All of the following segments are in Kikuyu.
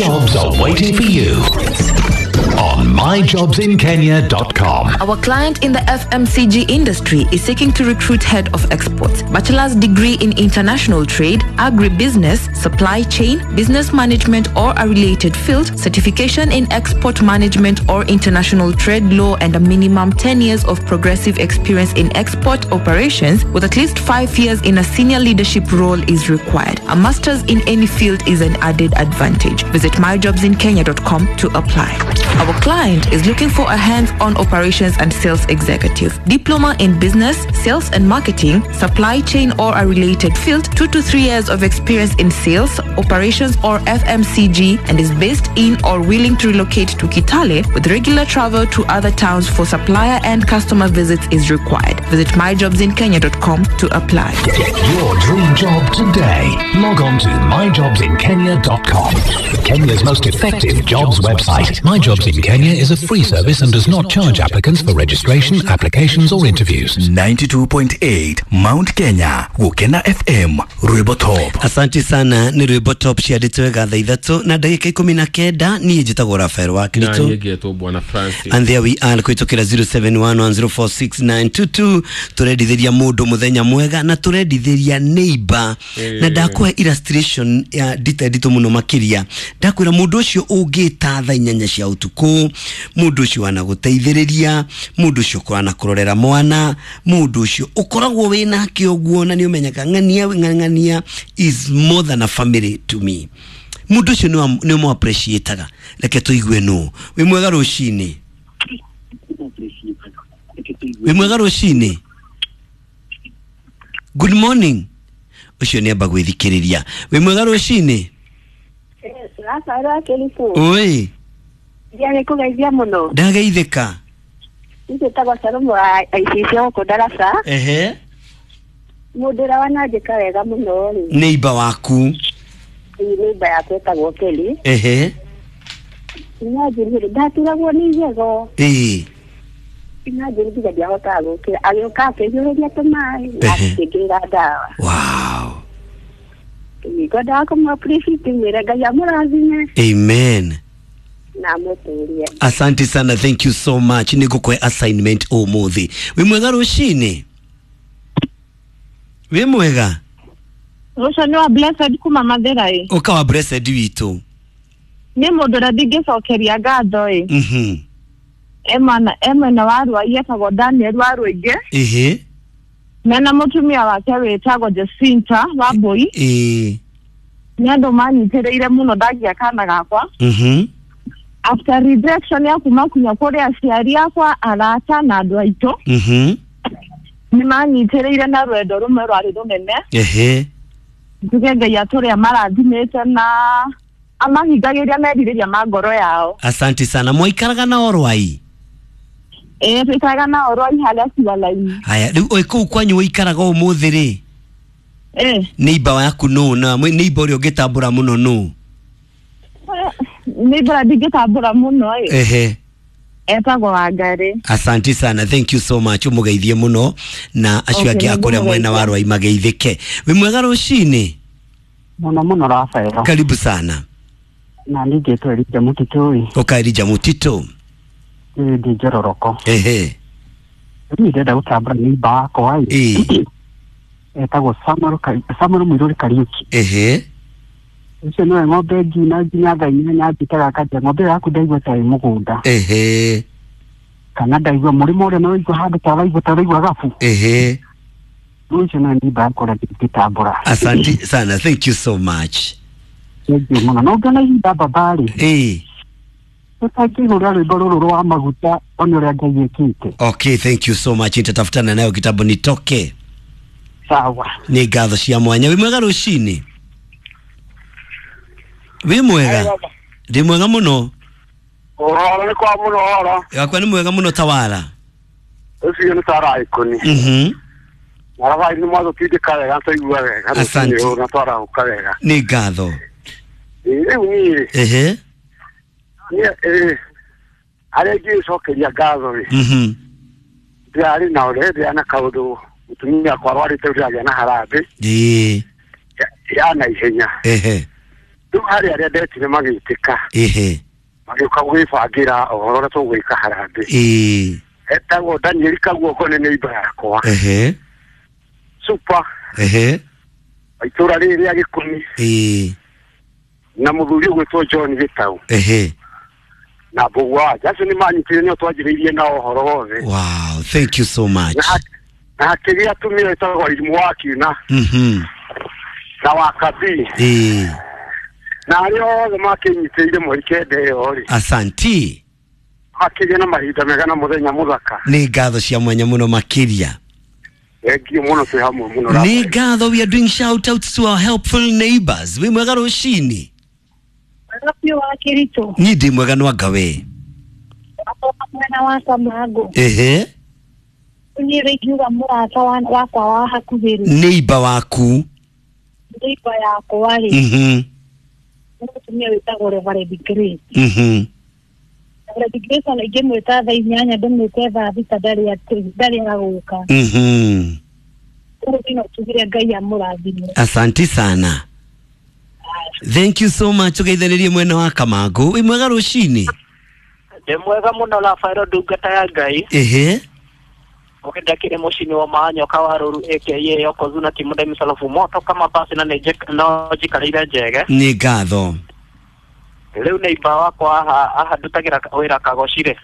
Jobs are waiting for you on myjobsinkenya.com. Our client in the FMCG industry is seeking to recruit head of exports, bachelor's degree in international trade, agribusiness, supply chain, business management or a related field, certification in export management or international trade law, and a minimum 10 years of progressive experience in export operations with at least 5 years in a senior leadership role is required. A master's in any field is an added advantage. Visit myjobsinkenya.com to apply. Our client is looking for a hands-on operations and sales executive, diploma in business, sales and marketing, supply chain or a related field, 2 to 3 years of experience in sales, operations or FMCG, and is based in or willing to relocate to Kitale with regular travel to other towns for supplier and customer visits is required. Visit myjobsinkenya.com to apply. Get your dream job today. Log on to myjobsinkenya.com. Kenya's most effective jobs website. My Jobs in Kenya is a free service and does not charge applicants for registration, applications or interviews. 92.8 Mount Kenya Gukena FM Rwimbo Top. Asante sana nä rwä mbo top ciandä wega thaa ithatå na ndagä ka ikå na kenda niä njä tagwo Rafael wa Kristo na ngetwo bwana Francis. And there we are kwitukira 0711046922 turendithiria mundu muthenya mwega na turendithiria neighbor na ndakuhe illustration ya ndita nditå muno makiria. Ndakwira mundu ucio ungita thaa inyanya cia utuku, mundu ucio wanagũteithĩrĩria, mundu ucio ũkũranakũrorera mwana, mundu ucio ukoragwo wĩ nake ũguo na nĩ ũmenyaga ng'ania ng'ania is more than a family to me. Mundu ucio nĩ ũmũ appreciataga. Reke tũigue nũ wĩ mwega rũcinĩ. Wĩ mwega rũcinĩ. Good morning. Ũcio nĩ amba gwĩthikĩrĩria. Wĩ mwega rũcinĩ. Oi. Nĩ kũgeithia mũno. Ndageithĩka. Njĩtagwo Salomo wa ICC gũkũ Ndaraca. Ehe. Mũndũ ũrĩa wananjĩka wega mũno rĩ. Neighbor waku. Neighbor yakwa ĩtagwo Kelly. Ehe. Imagine ndaturagwo nĩ igego. Ĩĩ. Imagine nginya ndiahotaga gũkĩra. Agĩũka akĩhiũrĩria tũmaĩ na akĩngĩrĩra ndawa. Wow. Ngwendaga kũmũ appreciate mwĩre Ngai amũrathime. Amen. Na mũtũrie. Asante sana, thank you so much. Nĩ ngũkũhe assignment ũmũthĩ. Wĩ mwega rũcinĩ? Wĩ mwega? Rũcio nĩ wa Blessed kuma Mathĩra ĩ. Ũka wa Blessed witũ. Nĩ mũndũ ũrĩa ndingĩcokeria ngatho ĩ. Mhm. E mwena wa Ruai etagwo Daniel wa Rũingĩ. Ĩhĩ. Mena mũtumia wake wĩtagwo Jacinta wa Mbũi. Ĩĩ. Nĩ andũ manyitĩrĩire mũno ndagia kana gakwa. Mhm. After rejection ya kuma kunya kũrĩ aciari akwa, arata na andũ aitũ. Mhm. Nĩ manyitĩrĩire na rwendo rũmwe rwarĩ rũnene. Ehe. Njuge Ngai atũrĩa marathimĩte na amahingagĩria merirĩria ma ngoro yao. Asante sana. Mwaikaraga nao Rwai? Ĩĩ, tũikaraga nao Rwai harĩa Ciwala-inĩ. Haya, rĩu ĩ kũu kwanyu ũikaraga ũmũthĩ rĩ? Ĩĩ. Neighbor yaku nũ na neighbor ũrĩa ũngĩtambũra mũno nũ? Neighbor ũrĩa ndingĩtambũra mũno ĩ. Ehe. Etagwo Wangarĩ. Asante sana, thank you so much. Ũmũgeithie mũno na acio angĩ a kũrĩa mwena wa Rwai mageithĩke. Wĩ mwega rũcinĩ? Mũno mũno Rafael. Karibu sana. Na niĩ ngĩtwo Elijah Mũtitũ ĩ. Ũka Elijah Mũtitũ. Ĩ ndĩ Njororoko. Ehe. Niĩ ndĩrenda gũtambũra neighbor wakwa ĩ. Ĩ. Etagwo Samuel Mũirũrĩ Kariũki. Ehe. Ũcio nĩwe ng'ombe nginya nginya thaa inyanya njĩtaga akanja ng'ombe ĩyo yaku ndaigua ta ĩ mũgũnda. Ehe. Kana ndaigua mũrĩmo ũrĩa nĩwaigua handũ ta ũraigua ta ũraigua gabu. Ehe. Ũcio nĩwe neighbor yakwa ũrĩa ndingĩtambũra. Asante sana, thank you so much. Thank you mũno. Na ũngĩona ihinda baba rĩ. Ĩ. Tũtangĩhũra rwĩmbo rũrũ rwa maguta one ũrĩa Ngai ekĩte. Okay, thank you so much. Nitatafutana nayo kitambo nitoke. Sawa. Nĩ ngatho cia mwanya. Wĩ mwega rũcinĩ? Wĩ mwega? Ndĩ mwega mũno. Ũhoro nĩ kwa mũno ũhoro. Wakwa nĩ mwega mũno Tawara. Ũcio nĩ Tawara Ikũni. Mhm. Marabai nĩ mwatũtindĩka wega twaigua wega. Asante. Na twarahũka wega. Nĩ ngatho. Rĩu niĩ. Ehe. Niĩ arĩa ingĩcokeria ngatho rĩ. Mhm. Ndĩrarĩ na ũrĩa ndĩrarĩ na kaũndũ mũtumia akwa arwarĩte ndĩragĩa na harambĩ. Ĩĩ. Ya naihenya. Ehe. Rĩu harĩ arĩa ndetire magĩtĩka. Ehe. Magĩũka gwĩbangĩra ũhoro ũrĩa tũgwĩka harambĩ. Ĩĩ. Etagwo Daniel Kaguoko nĩ neighbor yakwa. Ehe. Super. Ehe. Itũra rĩrĩ rĩa Gĩkũmi. Ĩĩ. Na mũthuri ũgwĩtwo John Gĩtau. Ehe. Na Mbũgua wa acio nĩ manyitire nĩo twanjĩrĩirie nao ũhoro wothe. Wow, thank you so much. Na hakĩgĩa atumia ĩtagwo Irimũ wa Kiuna. Na wa Kabii. Ĩĩ. Na arĩa othe makĩnyitĩrĩire mweri kenda ĩyo rĩ. Asanti. Makĩgĩa na mahinda mega na mũthenya mũthaka. Nĩ ngatho cia mwanya mũno makĩria. Thengiũ mũno twĩ hamwe mũno. Nĩ ngatho, we are doing shout outs to our helpful neighbors. Wĩ mwega rũcinĩ? Mwega biũ wa Kĩritũ. Niĩ ndĩ mwega no anga we. Mwena wa Kamangũ. Ehe. Niĩ rĩ ingiuga mũrata wakwa wa hakuhĩ rĩ. Neighbor waku. Neighbor yakwa rĩ. Nĩ mũtumia wĩtagwo Reverend Grace. Reverend Grace ona ingĩmwĩta thaa 8 ndĩmwĩte thaa 6 ndarĩ agũka. Ũguo no tugire Ngai amũrathime. Asanti sana. Thank you so much. Tugeithanirie mwena wa Kamangũ. Wĩ mwega rũcinĩ? Ndĩ mwega mũno Rafaelo ndungata ya Ngai. Ehe. Ũkĩenda kĩrĩ mũcini wa Manyoka wa Rũru aka Yokozuna Kimude Misalofu moto kama basi na no njikarĩire njege. Nĩ ngatho. Rĩu neighbor wakwa aha ndutagĩra wĩra Kagoci rĩ.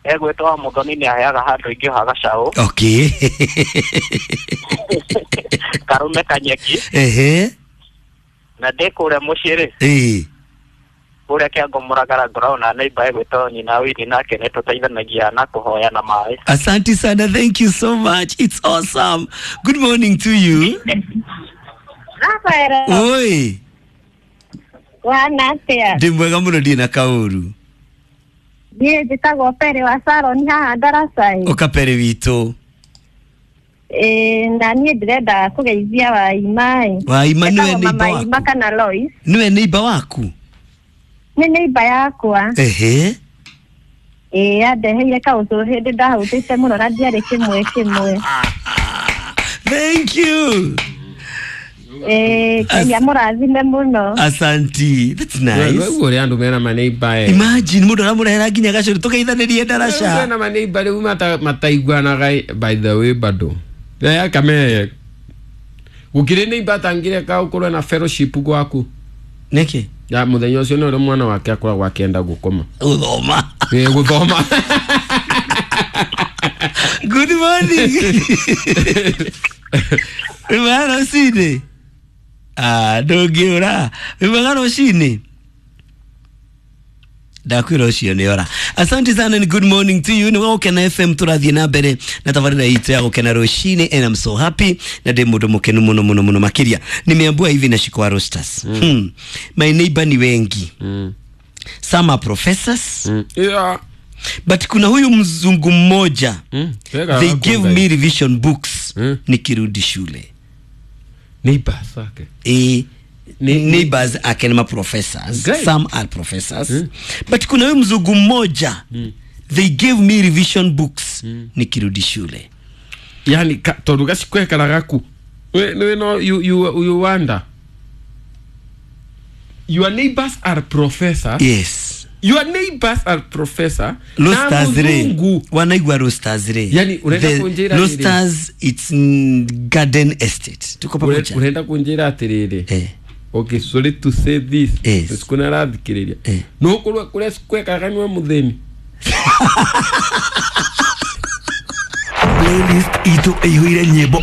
Egwĩtwo wa Mũthoni nĩ aheaga handũ ingĩoha gacaũ. Okay. Karume kanyeki. Ehe. Na ndĩ kũrĩa mũciĩ rĩ. Ĩĩ. Kũrĩa Kĩango Mũragara ngoragwo na neighbor egwĩtwo nyina Wini nake nĩ tũteithanagia na kũhoya na maĩ. Asante sana, thank you so much. It's awesome. Good morning to you. Rafael. Oi. Wana atĩa? Ndĩ mwega mũno ndirĩ na kaũru. Niĩ njĩtagwo Pere wa Saroni haha Ndaraca. Ũka Pere witũ. Ĩĩ, na niĩ ndĩrenda kũgeithia Waima ĩ. Waima nĩwe neighbor Mama waku? Waima kana Lois. Nĩwe neighbor waku? Nĩ neighbor yakwa. Ehe. Ĩĩ, andeheire kaũcũrũ hĩndĩ ndahũtĩte mũno na ndiarĩ kĩmwe kĩmwe. Thank you. Ngai amũrathime mũno. Asanti. That's nice. Wewe ũrĩa andũ mena maneighbor. Imagine mũndũ aramũrehera nginya gacũrũ tũgeithanĩrie ndaraca. Mena maneighbor rĩu mataiguanaga by the way bado. Ya kame. Gũkĩrĩ neighbor atangĩreka ũkorwo na fellowship gwaku. Nĩkĩ? Ya mũthenya ũcio nĩ ũrĩa mwana wake akoragwo akĩenda gũkoma. Gũthoma. Ĩĩ gũthoma. Good morning. Wĩ mwega rũcinĩ? Ah, ndũngĩũra. Wĩ mwega rũcinĩ? Ndakwĩra ũcio nĩ ora. Asante sana and good morning to you. Nĩ Gũkena FM tũrathiĩ na mbere na tabarĩra itũ ya Gũkena rũcinĩ and I'm so happy na ndĩ mũndũ mũkenu mũno mũno mũno makĩria. Nimeambua hivi na Shikwa Roasters. My neighbor ni wengi. Some are professors. Yeah. But kuna huyu mzungu mmoja. They gave me revision books nikirudi shule. Neighbors ake. Neighbors ake ni ma professors. Great. Some are professors. But kuna huyu mzungu mmoja. They gave me revision books nikirudi shule. Yani tondu gacikwekara gaku. We no you wonder. Your neighbors are professor. Yes. Your neighbors are professor. Roasters re. Wanaigua roasters re. Yani unaenda kunjira roasters it's garden estate. Tuko pamoja. Unaenda kunjira atiriri. Okay, sorry to say this. Yes. Sikuna rathikiriria. No kurwa kuria sikwekaga niwe muthini. Playlist itu ĩihũire nyĩmbo